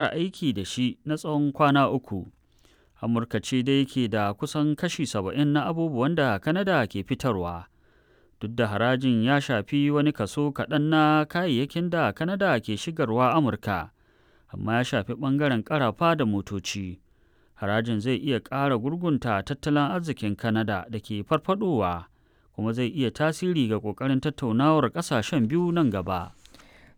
Aiki da shi na tsawon kwana uku. Amurka ce dai ke da kusan kashi 70 na abubuwan da Canada ke fitarwa. Duk da harajin ya shafi wani kaso kaɗan na kayayyakin da Canada ke shigarwa Amurka, amma ya shafi ɓangaren ƙarafa da motoci. Harajin zai iya ƙara gurgunta tattalin arzikin Canada da ke farfadowa kuma zai iya tasiri ga ƙoƙarin tattaunawar ƙasashen biyu nan gaba.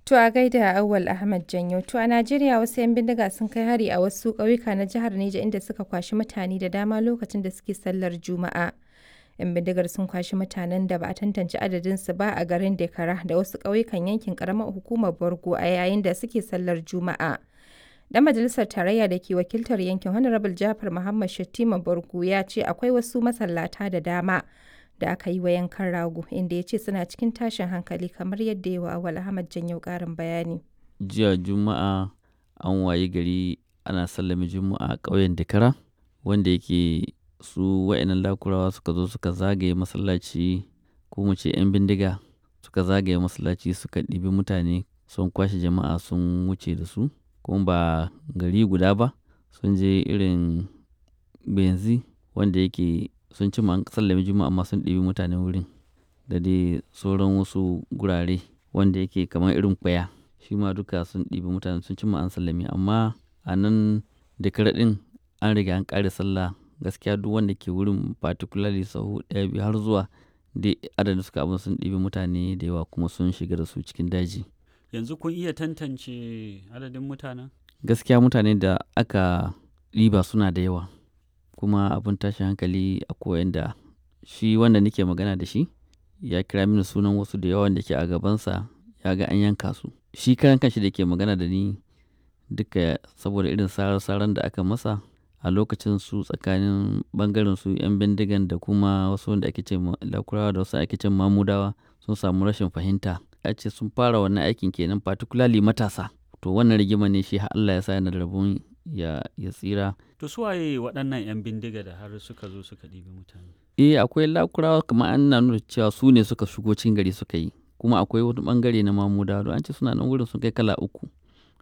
To a gaida Auwal Ahmad Janyo. To a Najeriya, wasu 'yan bindiga sun kai hari a wasu ƙauyuka na jihar Neja, inda suka kwashi mutane da dama lokacin da suke sallar Juma'a. 'Yan bindigar sun kwashi mutanen da ba a tantance adadinsu ba a garin Dekara da wasu ƙauyukan yankin ƙaramar hukumar Borgo a yayin da suke sallar Juma'a. Dan majalisar tarayya da ke wakiltar yankin, Honorable Jafar Muhammad Shettima Borgo, ya ce akwai wasu masallata da dama da aka yi wa yankan rago, inda ya ce suna cikin tashin hankali, kamar yadda yawa Awal Ahmad Janyo karin bayani. Jiya Juma'a an wayi gari ana sallame Juma'a a ƙauyen Dakara, wanda yake su wa'annan Lakurawa suka zo suka zagaye masallaci, ko mu ce 'yan bindiga suka zagaye masallaci, suka ɗibi mutane, sun kwashe jama'a sun wuce da su. Kuma ba gari guda ba, sun je irin Benzi, wanda yake sun ci an sallame Juma'a amma sun ɗibi mutane wurin, da dai sauran wasu gurare wanda yake kamar irin Kwaya, shi ma duka sun ɗibi mutane, sun cimma an sallame. Amma a nan da ɗin an riga an ƙare sallah. Gaskiya duk wanda ke wurin, particularly sahu ɗaya, biyu har zuwa dai adadin suka abin, sun ɗibi mutane da yawa kuma sun shiga da su cikin daji. Yanzu kun iya tantance adadin mutanen? Gaskiya mutane da aka ɗiba suna da yawa, kuma abin tashin hankali akwai wanda shi wanda nake magana da shi ya kira mini sunan wasu da yawa da ke a gabansa ya ga an yanka su. Shi karan kanshi da ke magana da ni duka, saboda irin sarar-saran da aka masa a lokacin, su tsakanin bangaren su 'yan bindigan da kuma wasu wanda ake ce Lakurawa da wasu ake ce Mamudawa sun samu rashin fahimta. A ce sun fara wannan aikin kenan, particularly matasa. To wannan rigima ne shi har Allah ya sa yana da rabon ya tsira. To su waye waɗannan 'yan bindiga da har suka zo suka ɗibi mutane? Eh, akwai Lakurawa, kamar an na nuna cewa su ne suka shigo cikin gari suka yi. Kuma akwai wani bangare na Mamudawa, don an ce suna nan wurin sun kai kala uku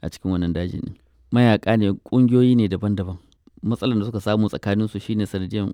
a cikin wannan dajin. Mayaka ne, ƙungiyoyi ne daban-daban. Matsalar da suka samu tsakaninsu shine sanadiyan